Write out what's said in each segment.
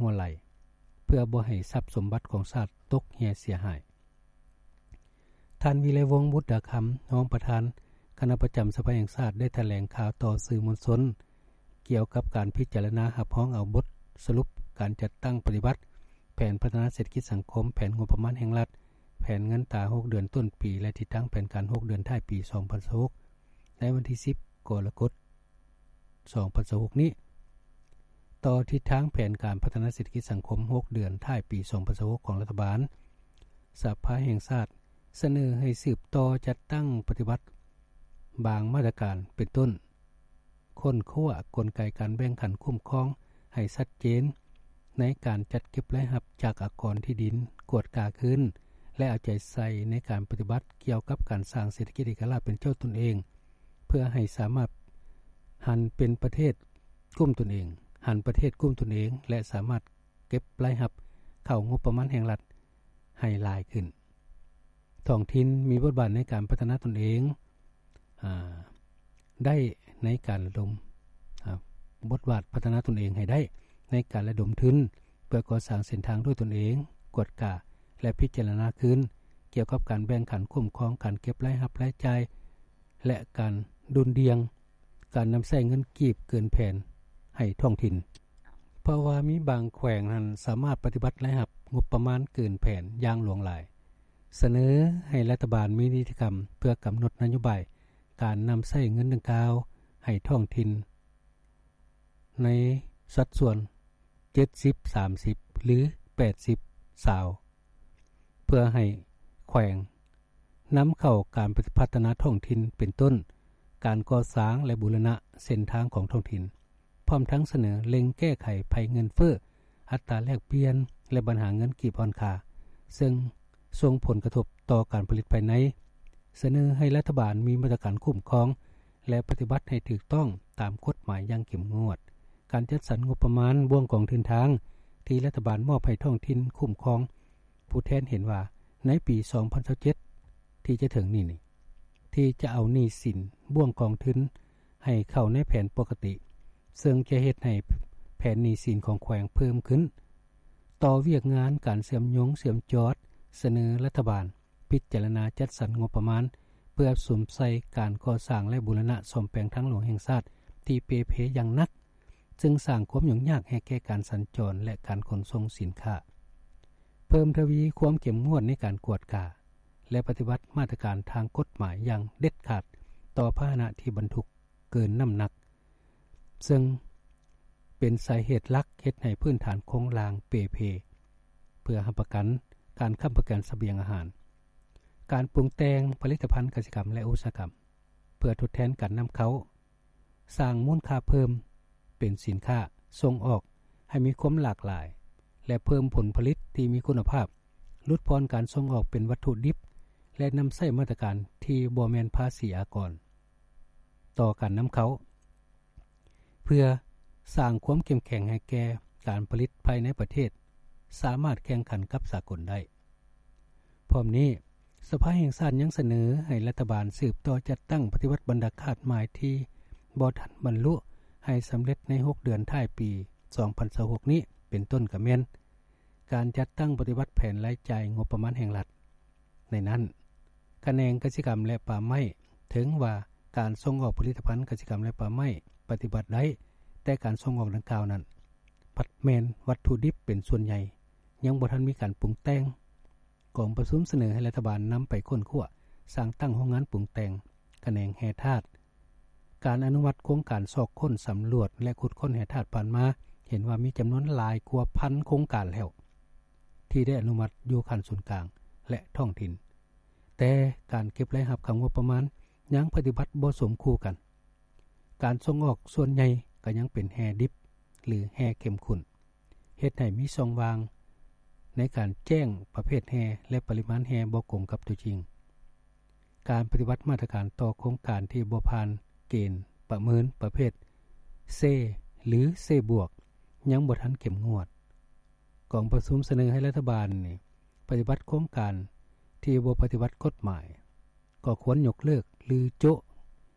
ວໄຫຼ ເພື່ອບໍ່ໃຫ້ຊັບສົມບັດຂອງຊາດຕົກເຮ່ຍເສຍຫາຍ. ທ່ານ ວິໄລວົງ ບຸດດາຄຳ ຮອງປະທານຄະນະປະຈຳສະພາແຫ່ງຊາດ ໄດ້ຖະແຫຼງຂ່າວຕໍ່ສື່ມວນຊົນ ກ່ຽວກັບການພິຈາລະນາຮັບຮອງເອົາບົດສະຫຼຸບການຈັດຕັ້ງປະຕິບັດແຜນພັດທະນາເສດຖະກິດສັງຄົມ, ແຜນງົບປະມານແຫ່ງລັດ, ແຜນເງິນຕາຫົກເດືອນຕົ້ນປີ ແລະ ທິດທາງແຜນການຫົກເດືອນທ້າຍປີສອງພັນຊາວຫົກ ໃນວັນທີສິບ ກໍລະກົດ ສອງພັນຊາວຫົກນີ້. ຕໍ່ທິດທາງແຜນການພັດທະນາເສດຖະກິດສັງຄົມຫົກເດືອນທ້າຍປີສອງພັນຊາວຫົກຂອງລັດຖະບານ, ສະພາແຫ່ງຊາດສະເໜີໃຫ້ສືບຕໍ່ຈັດຕັ້ງປະຕິບັດບາງມາດຕະການ ເປັນຕົ້ນ ຄົ້ນຄວ້າກົນໄກການແບ່ງຂັ້ນຄຸ້ມຄອງໃຫ້ຊັດເຈນ, ໃນການຈັດເກັບລາຍຮັບຈາກອາກອນທີ່ດິນ, ກວດກາຄືນ ແລະ ເອົາໃຈໃສ່ໃນການປະຕິບັດກ່ຽວກັບການສ້າງເສດຖະກິດເອກະລາດເປັນເຈົ້າຕົນເອງ, ເພື່ອໃຫ້ສາມາດຫັນເປັນປະເທດກຸ້ມຕົນເອງ, ຫັນປະເທດກຸ້ມຕົນເອງ ແລະ ສາມາດເກັບລາຍຮັບເຂົ້າງົບປະມານແຫ່ງລັດໃຫ້ຫຼາຍຂຶ້ນ. ທ້ອງຖິ່ນມີບົດບາດໃນການພັດທະນາຕົນເອງ, ອາ, ໄດ້ໃນການລະດົມ, ອາ, ບົດບາດພັດທະນາຕົນເອງໃຫ້ໄດ້ໃນການລະດົມທຶນ ເພື່ອກໍ່ສ້າງເສັ້ນທາງດ້ວຍຕົນເອງ, ກວດກາ ແລະ ພິຈາລະນາຄືນກ່ຽວກັບການແບ່ງຂັນຄຸ້ມຄອງການເກັບລາຍຮັບລາຍຈ່າຍ ແລະ ການດຸ່ນດ່ຽງການນຳໃຊ້ເງິນກີບເກີນແຜນໃຫ້ທ້ອງຖິ່ນ, ເພາະວ່າມີບາງແຂວງນັ້ນສາມາດປະຕິບັດລາຍຮັບງົບປະມານເກີນແຜນຢ່າງຫຼວງຫຼາຍ. ສະເໜີໃຫ້ລັດຖະບານມີນິຕິກຳເພື່ອກຳນົດນະໂຍບາຍການນຳໃຊ້ເງິນດັ່ງກ່າວໃຫ້ທ້ອງຖິ່ນໃນສັດສ່ວນເຈັດສິບສາມສິບ ຫຼື ແປດສິບຊາວ ເພື່ອໃຫ້ແຂວງນຳເຂົ້າການພັດທະນາທ້ອງຖິ່ນ ເປັນຕົ້ນ ການກໍ່ສ້າງ ແລະ ບູລະນະເສັ້ນທາງຂອງທ້ອງຖິ່ນ. ພ້ອມທັງສະເໜີເລັ່ງແກ້ໄຂໄພເງິນເຟີ້, ອັດຕາແລກປ່ຽນ ແລະ ບັນຫາເງິນກີບອ່ອນຄ່າ ເຊິ່ງສົ່ງຜົນກະທົບຕໍ່ການຜະລິດພາຍໃນ. ສະເໜີໃຫ້ລັດຖະບານມີມາດຕະການຄຸ້ມຄອງ ແລະ ປະຕິບັດໃຫ້ຖືກຕ້ອງຕາມກົດໝາຍຢ່າງເຂັ້ມງວດ. ການຈັດສັນງົບປະມານບ່ວງກອງທຶນທາງທີ່ລັດຖະບານມອບໃຫ້ທ້ອງຖິ່ນຄຸ້ມຄອງ, ຜູ້ແທນເຫັນວ່າໃນປີສອງພັນຊາວເຈັດ ທີ່ຈະເຖິງນີ້ນີ້ ທີ່ຈະເອົາໜີ້ສິນບ່ວງກອງທຶນໃຫ້ເຂົ້າໃນແຜນປົກກະຕິ, ເຊິ່ງຈະເຮັດໃຫ້ແຜນໜີ້ສິນຂອງແຂວງເພີ່ມຂຶ້ນ. ຕໍ່ວຽກງານການເຊື່ອມໂຍງເຊື່ອມຈອດ, ສະເໜີລັດຖະບານພິຈາລະນາຈັດສັນງົບປະມານ ເພື່ອສຸມໃສ່ການກໍ່ສ້າງ ແລະ ບູລະນະສ້ອມແປງທາງຫຼວງແຫ່ງຊາດທີ່ເປ່ເພຢ່າງໜັກ, ເຊິ່ງສ້າງຄວາມຫຍຸ້ງຍາກໃຫ້ແກ່ການສັນຈອນ ແລະ ການຂົນສົ່ງສິນຄ້າ. ເພີ່ມທະວີຄວາມເຂັ້ມງວດໃນການກວດກາ ແລະ ປະຕິບັດມາດຕະການທາງກົດໝາຍຢ່າງເດັດຂາດຕໍ່ພາຫະນະທີ່ບັນທຸກເກີນນ້ຳໜັກ, ເຊິ່ງເປັນສາເຫດຫຼັກເຮັດໃຫ້ພື້ນຖານໂຄງລ່າງເປ່ເພ, ເພື່ອຮັບປະກັນການຄ້ຳປະກັນສະບຽງອາຫານ, ການປຸງແຕ່ງຜະລິດຕະພັນກະສິກຳ ແລະ ອຸດສາຫະກຳ ເພື່ອທົດແທນການນຳເຂົ້າ, ສ້າງມູນຄ່າເພີ່ມເປັນສິນຄ້າສົ່ງອອກໃຫ້ມີຄວາມຫຼາກຫຼາຍ ແລະ ເພີ່ມຜົນຜະລິດທີ່ມີຄຸນນະພາບ, ຫຼຸດຜ່ອນການສົ່ງອອກເປັນວັດຖຸດິບ ແລະ ນຳໃຊ້ມາດຕະການທີ່ບໍ່ແມ່ນພາສີອາກອນຕໍ່ການນຳເຂົ້າ, ເພື່ອສ້າງຄວາມເຂັ້ມແຂງໃຫ້ແກ່ການຜະລິດພາຍໃນປະເທດ ສາມາດແຂ່ງຂັນກັບສາກົນໄດ້. ພ້ອມນີ້, ສະພາແຫ່ງຊາດຍັງສະເໜີໃຫ້ລັດຖະບານສືບຕໍ່ຈັດຕັ້ງປະຕິບັດບັນດາຄາດໝາຍທີ່ບໍ່ທັນບັນລຸໃຫ້ສຳເລັດໃນຫົກເດືອນທ້າຍປີສອງພັນຊາວຫົກນີ້ ເປັນຕົ້ນກະແມ່ນ ການຈັດຕັ້ງປະຕິບັດແຜນລາຍຈ່າຍງົບປະມານແຫ່ງລັດ. ໃນນັ້ນ, ຂະແໜງກະສິກຳ ແລະ ປ່າໄມ້ ເຖິງວ່າການສົ່ງອອກຜະລິດຕະພັນກະສິກຳ ແລະ ປ່າໄມ້ປະຕິບັດໄດ້, ແຕ່ການສົ່ງອອກດັ່ງກ່າວນັ້ນ ພັດແມ່ນວັດຖຸດິບເປັນສ່ວນໃຫຍ່, ຍັງບໍ່ທັນມີການປຸງແຕ່ງ. ກອງປະຊຸມສະເໜີໃຫ້ລັດຖະບານນຳໄປຄົ້ນຄວ້າສ້າງຕັ້ງໂຮງງານປຸງແຕ່ງຂະແໜງແຮ່ທາດ. ການອະນຸມັດໂຄງການຊອກຄົ້ນ, ສຳຫຼວດ ແລະ ຂຸດຄົ້ນແຮ່ທາດຜ່ານມາ ເຫັນວ່າມີຈຳນວນຫຼາຍກວ່າພັນໂຄງການແລ້ວ ທີ່ໄດ້ອະນຸມັດຢູ່ຂັ້ນສູນກາງ ແລະ ທ້ອງຖິ່ນ, ແຕ່ການເກັບລາຍຮັບເຂົ້າງົບປະມານຍັງປະຕິບັດບໍ່ສົມຄູ່ກັນ. ການສົ່ງອອກສ່ວນໃຫຍ່ກໍຍັງເປັນແຮ່ດິບ ຫຼື ແຮ່ເຂັ້ມຂຸ້ນ, ເຮັດໃຫ້ມີຊ່ອງວ່າງໃນການແຈ້ງປະເພດແຮ່ ແລະ ປະລິມານແຮ່ບໍ່ກົງກັບຕົວຈິງ. ການປະຕິບັດມາດຕະການຕໍ່ໂຄງການທີ່ບໍ່ຜ່ານເກນປະເມີນປະເພດ C ຫຼື C ບວກ ຍັງບໍ່ທັນເຂັ້ມງວດ. ກອງປະຊຸມສະເໜີໃຫ້ລັດຖະບານນີ້ປະຕິບັດໂຄງການທີ່ບໍ່ປະຕິບັດກົດໝາຍ ກໍຄວນຍົກເລີກ ຫຼື ໂຈະ.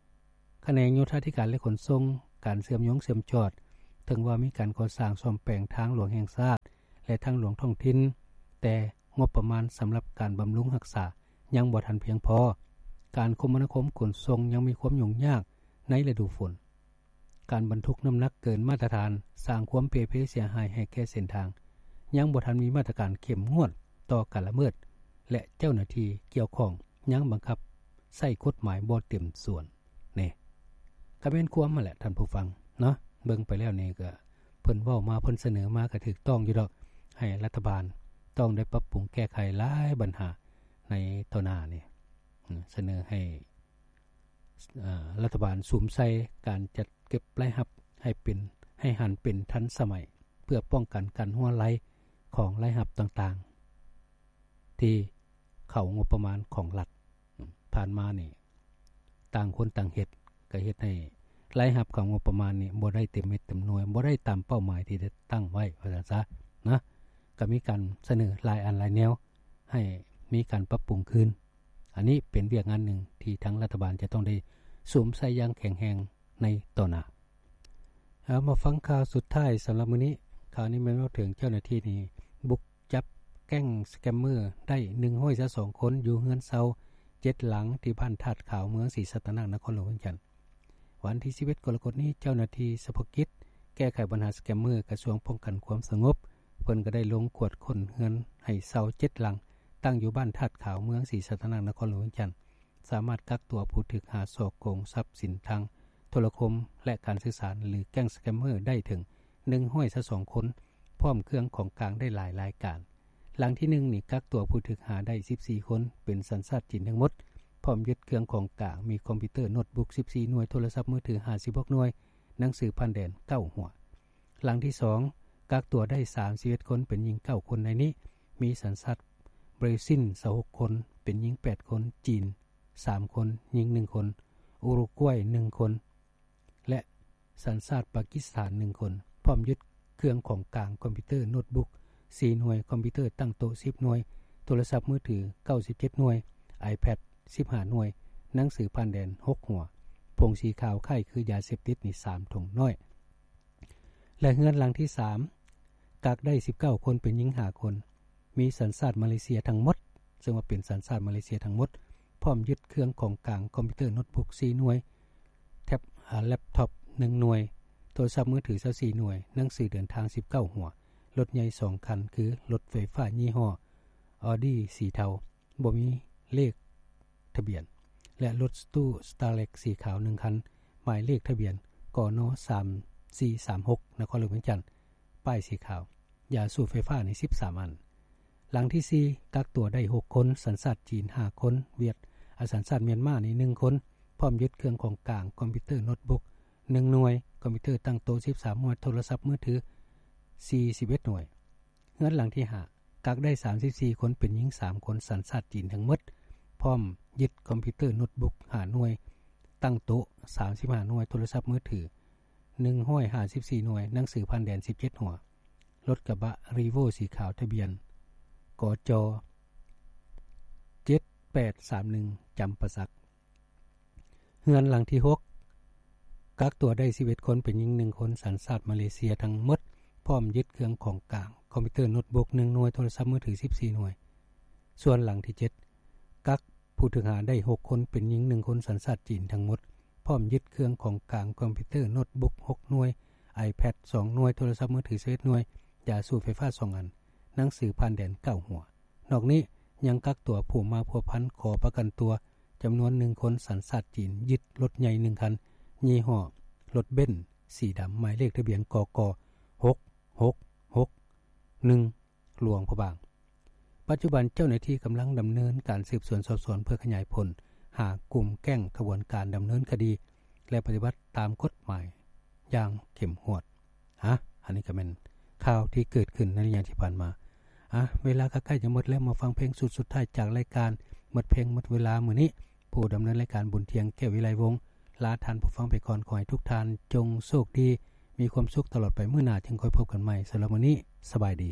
ຂະແໜງໂຍທາທິການ ແລະ ຂົນສົ່ງ, ການເຊື່ອມໂຍງເຊື່ອມຈອດ, ເຖິງວ່າມີການກໍ່ສ້າງສ້ອມແປງທາງຫຼວງແຫ່ງຊາດ ແລະ ທາງຫຼວງທ້ອງຖິ່ນ, ແຕ່ງົບປະມານສຳລັບການບຳລຸງຮັກສາຍັງບໍ່ທັນພຽງພໍ, ການຄົມມະນາຄົມຂົນສົ່ງຍັງມີຄວາມຫຍຸ້ງຍາກໃນລະດູຝົນ, ການບັນທຸກນ້ຳໜັກເກີນມາດຕະຖານ ສ້າງຄວາມເປ່ເພເສຍຫາຍໃຫ້ແກ່ເສັ້ນທາງ, ຍັງບໍ່ທັນມີມາດຕະການເຂັ້ມງວດຕໍ່ການລະເມີດ ແລະ ເຈົ້າໜ້າທີ່ກ່ຽວຂ້ອງຍັງບັງຄັບໃຊ້ກົດໝາຍບໍ່ເຕັມສ່ວນ. ນີ້ກໍແມ່ນຄວາມຫັ້ນແຫຼະທ່ານຜູ້ຟັງເນາະ, ເບິ່ງໄປແລ້ວນີ້ກໍເພິ່ນເວົ້າມາ ເພິ່ນສະເໜີມາກໍຖືກຕ້ອງຢູ່ດອກ, ໃຫ້ລັດຖະບານຕ້ອງໄດ້ປັບປຸງແກ້ໄຂຫຼາຍບັນຫາໃນຕໍ່ໜ້ານີ້, ສະເໜີໃຫ້ ເອີ່ ລັດຖະບານສຸມໃສ່ການຈັດເກັບລາຍຮັບໃຫ້ເປັນ ໃຫ້ຫັນເປັນທັນສະໄໝ ເພື່ອປ້ອງກັນການຮົ່ວໄຫຼຂອງລາຍຮັບຕ່າງໆ ທີ່ເຂົ້າງົບປະມານຂອງລັດ. ຜ່ານມານີ້ຕ່າງຄົນຕ່າງເຮັດ ກໍເຮັດໃຫ້ລາຍຮັບເຂົ້າງົບປະມານນີ້ບໍ່ໄດ້ເຕັມເມັດເຕັມໜ່ວຍ, ບໍ່ໄດ້ຕາມເປົ້າໝາຍທີ່ໄດ້ຕັ້ງໄວ້ ວ່າຊັ້ນຊະນະ. ກໍມີການສະເໜີຫຼາຍອັນຫຼາຍແນວໃຫ້ມີການປັບປຸງຄືນ. ອັນນີ້ເປັນວຽກງານໜຶ່ງທີ່ທາງລັດຖະບານຈະຕ້ອງໄດ້ສຸມໃສ່ຢ່າງແຂງແຮງໃນຕໍ່ໜ້າ. ເອົາ ມາຟັງຂ່າວສຸດທ້າຍສຳລັບມື້ນີ້. ຂ່າວນີ້ແມ່ນເວົ້າເຖິງເຈົ້າໜ້າທີ່ນີ້ບຸກຈັບແກ້ງສະແກມເມີໄດ້ໜຶ່ງຮ້ອຍຊາວສອງຄົນ ຢູ່ເຮືອນເຊົ່າເຈັດຫຼັງ ທີ່ບ້ານທາດຂາວ ເມືອງສີສັດຕະນາກ ນະຄອນຫຼວງວຽງຈັນ. ວັນທີສິບເອັດ ກໍລະກົດນີ້ ເຈົ້າໜ້າທີ່ສະເພາະກິດແກ້ໄຂບັນຫາສະແກມເມີ ກະຊວງປ້ອງກັນຄວາມສະຫງົບ ເພິ່ນກໍໄດ້ລົງກວດຄົ້ນເຮືອນໃຫ້ເຊົ່າເຈັດຫຼັງ ຕັ້ງຢູ່ບ້ານທາດຂາວ ເມືອງສີສັດຕະນາກ ນະຄອນຫຼວງວຽງຈັນ, ສາມາດກັກຕົວຜູ້ຖືກຫາສໍ້ໂກງຊັບສິນທາງໂທລະຄົມ ແລະ ການສື່ສານ ຫຼື ແກ້ງສະແກມເມີ ໄດ້ເຖິງໜຶ່ງຮ້ອຍຊາວສອງຄົນ ພ້ອມເຄື່ອງຂອງກາງໄດ້ຫຼາຍລາຍການ. ຫຼັງທີໜຶ່ງນີ້ ກັກຕົວຜູ້ຖືກຫາໄດ້ສິບສີ່ຄົນ ເປັນສັນຊາດຈີນທັງໝົດ ພ້ອມຍຶດເຄື່ອງຂອງກາງ ມີຄອມພິວເຕີໂນດບຸກສິບສີ່ໜ່ວຍ, ໂທລະສັບມືຖືຫ້າສິບຫົກໜ່ວຍ, ໜັງສືຜ່ານແດນເກົ້າຫົວ. ຫຼັງທີສອງ ກັກຕົວໄດ້ສາມສິບເອັດຄົນ ເປັນຍິງເກົ້າຄົນ, ໃນນີ້ມີສັນຊາດບຣາຊິນຊາວຫົກຄົນ ເປັນຍິງແປດຄົນ, ຈີນສາມຄົນ ຍິງໜຶ່ງຄົນ, ອຸຣຸກວາຍໜຶ່ງຄົນ ແລະ ສັນຊາດປາກິສຖານໜຶ່ງຄົນ, ພ້ອມຍຶດເຄື່ອງຂອງກາງ ຄອມພິວເຕີໂນດບຸກສີ່ໜ່ວຍ, ຄອມພິວເຕີຕັ້ງໂຕະສິບໜ່ວຍ, ໂທລະສັບມືຖືເກົ້າສິບເຈັດໜ່ວຍ, ໄອແພດສິບຫ້າໜ່ວຍ, ໜັງສືຜ່ານແດນຫົກຫົວ, ຜົງສີຂາວຄ້າຍຄືຢາເສບຕິດນີ້ສາມຖົງນ້ອຍ ແລະ ເຮືອນຫຼັງທີສາມ ກັກໄດ້ສິບເກົ້າຄົນ ເປັນຍິງຫ້າຄົນ ມີສັນຊາດມາເລເຊຍທັງໝົດ, ເຊິ່ງວ່າເປັນສັນຊາດມາເລເຊຍທັງໝົດ, ພ້ອມຍຶດເຄື່ອງຂອງກາງ ຄອມພິວເຕີໂນດບຸກສີ່ໜ່ວຍ, ແທັບ ອາ ແລັບທັອບໜຶ່ງໜ່ວຍ, ໂທລະສັບມືຖືຊາວສີ່ໜ່ວຍ, ໜັງສືເດີນທາງສິບເກົ້າຫົວ, ລົດໃຫຍ່ສອງຄັນ ຄືລົດໄຟຟ້າຍີ່ຫໍ້ອໍດີສີເທົາ ບໍ່ມີເລກທະບຽນ ແລະ ລົດຕູ້ສະຕາເລັກສີຂາວໜຶ່ງຄັນ ໝາຍເລກທະບຽນ ກນ ສາມສີ່ສາມຫົກ ນະຄອນຫຼວງວຽງຈັນ, ປ້າຍສີຂາວ, ຢາສູບໄຟຟ້ານີ້ສິບສາມອັນ. ຫຼັງທີສີ່ ກັກຕົວໄດ້ຫົກຄົນ, ສັນຊາດຈີນຫ້າຄົນ, ຫວຽດ ອາ ສັນຊາດມຽນມານີ້ໜຶ່ງຄົນ, ພ້ອມຍຶດເຄື່ອງຂອງກາງ ຄອມພິວເຕີໂນດບຸກໜຶ່ງໜ່ວຍ, ຄອມພິວເຕີຕັ້ງໂຕະສິບສາມໜ່ວຍ, ໂທລະສັບມືຖືສີ່ສິບເອັດໜ່ວຍ. ເຮືອນຫຼັງທີຫ້າ ກັກໄດ້ສາມສິບສີ່ຄົນ ເປັນຍິງສາມຄົນ ສັນຊາດຈີນທັງໝົດ, ພ້ອມຍຶດຄອມພິວເຕີໂນດບຸກຫ້າໜ່ວຍ, ຕັ້ງໂຕະສາມສິບຫ້າໜ່ວຍ, ໂທລະສັບມືຖືໜຶ່ງຮ້ອຍຫ້າສິບສີ່ໜ່ວຍ, ໜັງສືຜ່ານແດນສິບເຈັດຫົວ, ລົດກະບະຣີໂວ້ສີຂາວ ທະບຽນ ກຈ ເຈັດແປດສາມໜຶ່ງ ຈຳປາສັກ. ເຮືອນຫຼັງທີຫົກ ກັກຕົວໄດ້ສິບເອັດຄົນ ເປັນຍິງໜຶ່ງຄົນ ສັນຊາດມາເລເຊຍທັງໝົດ, ພ້ອມຍຶດເຄື່ອງຂອງກາງ ຄອມພິວເຕີໂນດບຸກໜຶ່ງໜ່ວຍ, ໂທລະສັບມືຖືສິບສີ່ໜ່ວຍ. ສ່ວນຫຼັງທີເຈັດ ກັກຜູ້ຖືກຫາໄດ້ຫົກຄົນ ເປັນຍິງໜຶ່ງຄົນ ສັນຊາດຈີນທັງໝົດ, ພ້ອມຍຶດເຄື່ອງຂອງກາງ ຄອມພິວເຕີໂນດບຸກຫົກໜ່ວຍ, ໄອແພດສອງໜ່ວຍ, ໂທລະສັບມືຖືສິບເອັດໜ່ວຍ, ຢາສູບໄຟຟ້າສອງອັນ, ໜັງສືຜ່ານແດນເກົ້າຫົວ. ນອກນີ້ຍັງກັກຕົວຜູ້ມາພົວພັນຂໍປະກັນຕົວຈຳນວນໜຶ່ງຄົນ ສັນຊາດຈີນ, ຍຶດລົດໃຫຍ່ໜຶ່ງຄັນ ຍີ່ຫໍ້ລົດເບັນສີດຳ ໝາຍເລກທະບຽນ ກກ ຫົກຫົກຫົກໜຶ່ງ ຫຼວງພະບາງ. ປັດຈຸບັນເຈົ້າໜ້າທີ່ກຳລັງດຳເນີນການສືບສວນສອບສວນ ເພື່ອຂະຫຍາຍຜົນຫາກຸ່ມແກ້ງຂະບວນການດຳເນີນຄະດີ ແລະ ປະຕິບັດຕາມກົດໝາຍຢ່າງເຂັ້ມງວດ. ອາ ອັນນີ້ກໍແມ່ນຂ່າວທີ່ເກີດຂຶ້ນໃນໄລຍະທີ່ຜ່ານມາ. ອາ ເວລາກໍໃກ້ຈະໝົດແລ້ວ, ມາຟັງເພງຊຸດສຸດທ້າຍຈາກລາຍການ. ໝົດເພງໝົດເວລາມື້ນີ້, ຜູ້ດຳເນີນລາຍການ ບຸນທຽງ ແກ້ວວິໄລວົງ ລາທ່ານຜູ້ຟັງໄປກ່ອນ. ຂໍໃຫ້ທຸກທ່ານຈົ່ງໂຊກດີ, ມີຄວາມສຸກຕະຫຼອດໄປ, ມື້ໜ້າຈຶ່ງຄ່ອຍພົບກັນໃໝ່. ສຳລັບມື້ນີ້ ສະບາຍດີ.